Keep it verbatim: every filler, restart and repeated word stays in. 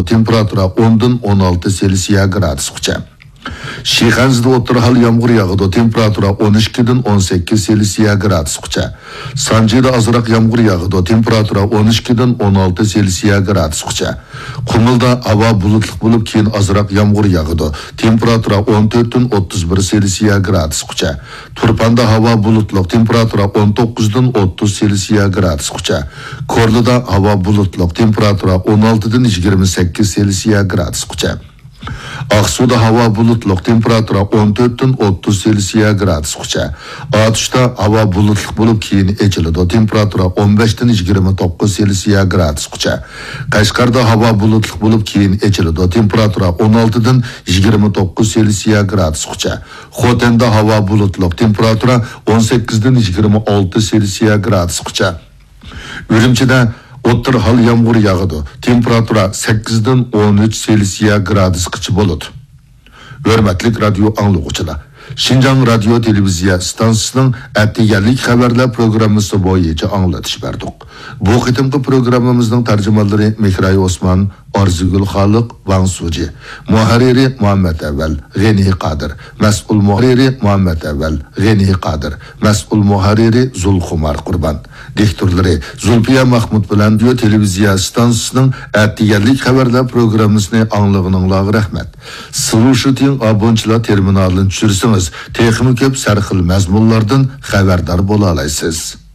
تېمپېراتۇرا ئوندىن ئون ئالتە سېلسىيە گرادۇسقىچە. شىخەنزىدە ئوتتۇرا ھال يامغۇر ياغىدۇ، تېمپېراتۇرا ئون ئىككىدىن ئون سەككىز سېلسىيە گرادۇسقىچە. سانجىدا ئازراق يامغۇر ياغىدۇ، تېمپېراتۇرا ئون ئىككىدىن ئون ئالتە سېلسىيە گرادۇسقىچە. قۇمۇلدا ھاۋا بۇلۇتلۇق بولۇپ، كېيىن ئازراق يامغۇر ياغىدۇ، تېمپېراتۇرا ئون تۆتتىن ئوتتۇز بىر سېلسىيە گرادۇسقىچە. تۇرپاندا ھاۋا بۇلۇتلۇق، تېمپېراتۇرا ئون توققۇزدىن ئوتتۇز سېلسىيە گرادۇسقىچە. كورلىدا ھاۋا بۇلۇتلۇق، تېمپېراتۇرا ئون ئالتىدىن يىگىرمە سەككىز سېلسىيە گرادۇسقىچە. ئاقسۇدا ھاۋا بۇلۇتلۇق، تېمپېراتۇرا ئون تۆتتىن ئوتتۇز سېلسىيە گرادۇسقىچە. ئاتۇشتا ھاۋا بۇلۇتلۇق بولۇپ، كېيىن ئېچىلىدۇ، تېمپېراتۇرا ئون بەشتىن يىگىرمە توققۇز سېلسىيە گرادۇسقىچە. قەشقەردە ھاۋا بۇلۇتلۇق بولۇپ، كېيىن ئېچىلىدۇ، تېمپېراتۇرا ئون ئالتىدىن يىگىرمە توققۇز سېلسىيە گرادۇسقىچە. خوتەندە ھاۋا بۇلۇتلۇق، تېمپېراتۇرا ئون سەككىزدىن يىگىرمە ئالتە سېلسىيە گرادۇسقىچە. ئۈرۈمچىدە ئوتتۇرا ھال يامغۇر ياغىدۇ، تېمپېراتۇرا سەككىزدىن ئون ئۈچ سېلسىيە گرادۇسقىچە بولىدۇ. ھۆرمەتلىك رادىيو ئاڭلىغۇچىلار، شىنجاڭ رادىيو تېلېۋىزىيە ئىستانسىسىنىڭ ئەتىگەنلىك خەۋەرلەر پروگراممىسى بويىچە ئاڭلىتىش بەردۇق. بۇ قېتىمقى پروگراممىمىزنىڭ تەرجىمانلىرى مېھراي ئوسمان، ئارزۇگۈل خالىق، ۋاڭ سۇجى. مۇھەررىرى مۇھەممەت ئەۋەل، غېنى قادىر. مەسئۇل مۇھەررىرى مۇھەممەت ئەۋەل، غېنى قادىر. مەسئۇل مۇھەررىرى زۇلخۇمار قۇربان. دىكتورلىرى زۇلپىيە مەخمۇت بىلەن رادىيو تېلېۋىزىيە ئىستانسىسىنىڭ ئەتىگەنلىك خەۋەرلەر پروگراممىسىنى ئاڭلىغىنىڭلارغا رەھمەت. سلۇشىتىڭ ئابونچىلار تېرمىنالىنى چۈشۈرسىڭىز، تېخىمۇ كۆپ سەرخىل مەزمۇنلاردىن خەۋەردار بولالايسىز.